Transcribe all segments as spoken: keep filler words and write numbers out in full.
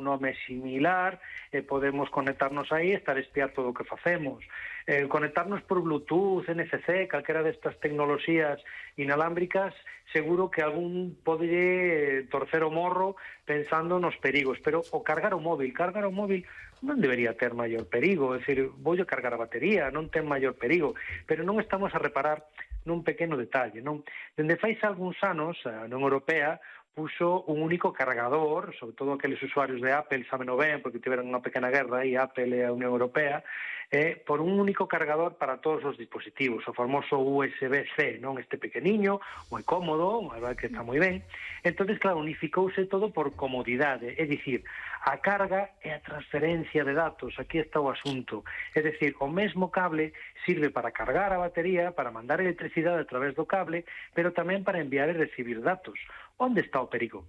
nome similar, e podemos conectarnos aí e estar a espiar todo o que facemos. Eh, conectarnos por Bluetooth, N F C, calquera destas tecnoloxías inalámbricas, seguro que algún pode torcer o morro pensando nos perigos, pero o cargar o móvil, cargar o móvil non debería ter maior perigo, é dicir, voulle cargar a batería, non ten maior perigo, pero non estamos a reparar nun pequeno detalle, non? Dende fai algúns anos, a Unión Europea puxo un único cargador, sobre todo aqueles usuarios de Apple saben ben, porque tiveron unha pequena guerra aí, Apple e a Unión Europea, eh, por un único cargador para todos os dispositivos, o famoso U S B C, non? Este pequeniño, moi cómodo, a verdade que está moi ben. Entonces, claro, unificouse todo por comodidade, é dicir, a carga e a transferencia de datos, aquí está o asunto. É dicir, o mesmo cable sirve para cargar a batería, para mandar electricidade a través do cable, pero tamén para enviar e recibir datos. Onde está o perigo?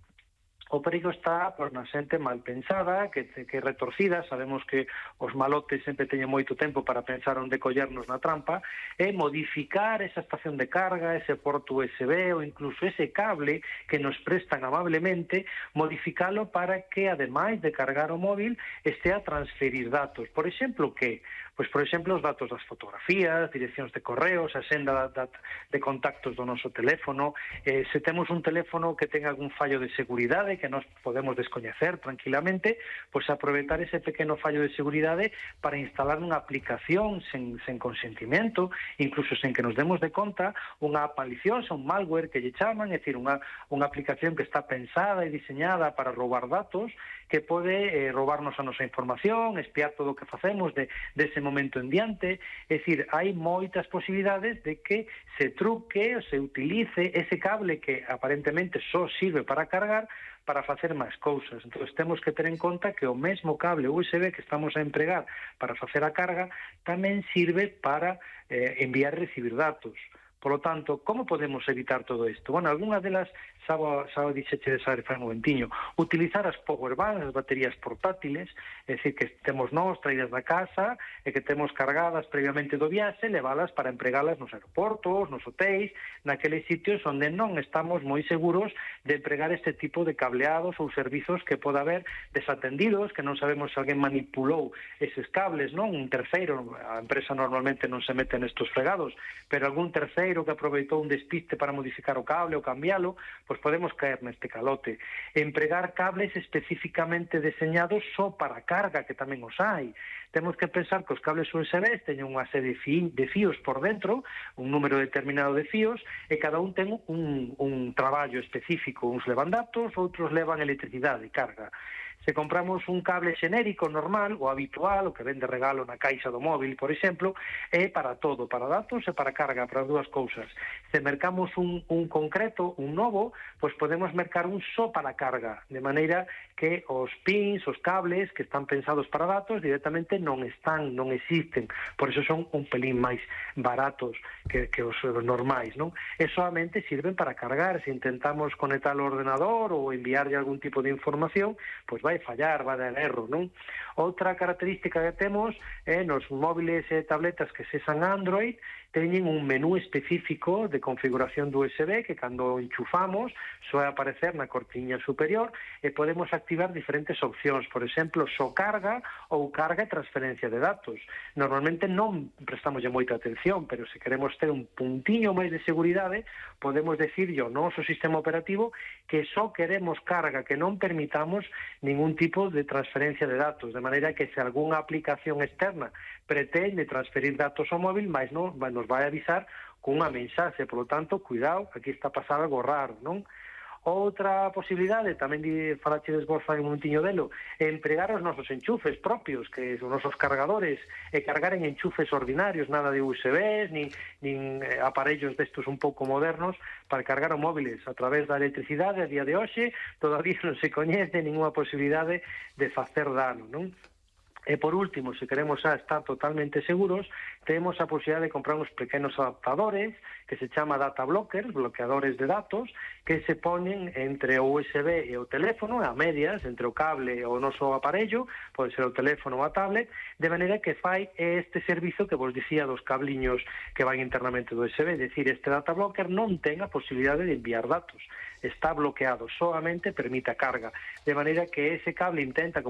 O perigo está por na xente mal pensada, que, que retorcida, sabemos que os malotes sempre teñen moito tempo para pensar onde collernos na trampa, e modificar esa estación de carga, ese porto U S B ou incluso ese cable que nos prestan amablemente, modificalo para que, ademais de cargar o móvil, este a transferir datos. Por exemplo, que? Pois, por exemplo, os datos das fotografías, direccións de correos, a senda de contactos do noso teléfono. Eh, se temos un teléfono que ten algún fallo de seguridade que nos podemos descoñecer tranquilamente, pois aproveitar ese pequeno fallo de seguridade para instalar unha aplicación sen, sen consentimento, incluso sen que nos demos de conta, unha app maliciosa, un malware que lle chaman, é dicir, unha, unha aplicación que está pensada e diseñada para roubar datos, que pode eh, roubarnos a nosa información, espiar todo o que facemos de, de ese momento en diante. É dicir, hai moitas posibilidades de que se truque ou se utilice ese cable que aparentemente só sirve para cargar para facer máis cousas. Entón, temos que ter en conta que o mesmo cable U S B que estamos a empregar para facer a carga tamén sirve para eh, enviar e recibir datos. Por lo tanto, como podemos evitar todo isto? Bueno, algunhas delas, xa o dixeche de saber fai un momentiño, utilizar as powerbanks, as baterías portátiles, é dicir, que temos nós traídas da casa e que temos cargadas previamente do viaxe, leválas para empregalas nos aeroportos, nos hotéis, naqueles sitios onde non estamos moi seguros de empregar este tipo de cableados ou servizos que poda haber desatendidos, que non sabemos se alguén manipulou eses cables, non? Un terceiro, a empresa normalmente non se mete nestos fregados, pero algún terceiro que aproveitou un despiste para modificar o cable ou cambiálo, pois podemos caer neste calote. Empregar cables especificamente deseñados só para carga, que tamén os hai. Temos que pensar que os cables U S B teñen unha serie de fíos por dentro, un número determinado de fíos, e cada un ten un, un traballo específico. Uns levan datos, outros levan electricidade e carga. Se compramos un cable xenérico normal, o habitual, o que ven de regalo na caixa do móvil, por exemplo, é para todo, para datos e para carga, para as dúas cousas. Se mercamos un, un concreto, un novo, pois podemos mercar un só para carga, de maneira que os pins, os cables que están pensados para datos, directamente non están, non existen. Por iso son un pelín máis baratos que, que os normais, non? E solamente sirven para cargar. Se intentamos conectar o ordenador ou enviarlle algún tipo de información, pois vai fallar, vai dar erro, non? Outra característica que temos é nos móviles e tabletas que sesan Android, teñen un menú específico de configuración do U S B que cando enchufamos soe aparecer na cortiña superior e podemos activar diferentes opcións, por exemplo, só carga ou carga e transferencia de datos. Normalmente non prestamos moita atención, pero se queremos ter un puntiño máis de seguridade, podemos decirlle ao noso sistema operativo que só queremos carga, que non permitamos ningún tipo de transferencia de datos, de maneira que se algunha aplicación externa pretende transferir datos ao móvil, mas non, nos vai avisar cunha mensaxe, por lo tanto, cuidado, aquí está pasando algo raro, non? Outra posibilidade, tamén falachedes vos fai un momentiño delo, é empregar os nosos enchufes propios, que son os nosos cargadores, e cargar en enchufes ordinarios, nada de U S Bs, nin, nin aparellos destos un pouco modernos, para cargar os móviles a través da electricidade. A día de hoxe todavía non se coñece ninguna posibilidade de facer dano, non? E por último, se queremos xa estar totalmente seguros, temos a posibilidade de comprar uns pequenos adaptadores que se chama data blockers, bloqueadores de datos, que se ponen entre o U S B e o teléfono, a medias, entre o cable e o noso aparello, pode ser o teléfono ou a tablet, de maneira que fai este servizo que vos dicía dos cabliños que van internamente do U S B, é dicir, este data blocker non ten a posibilidade de enviar datos, está bloqueado, solamente permite a carga, de maneira que ese cable intenta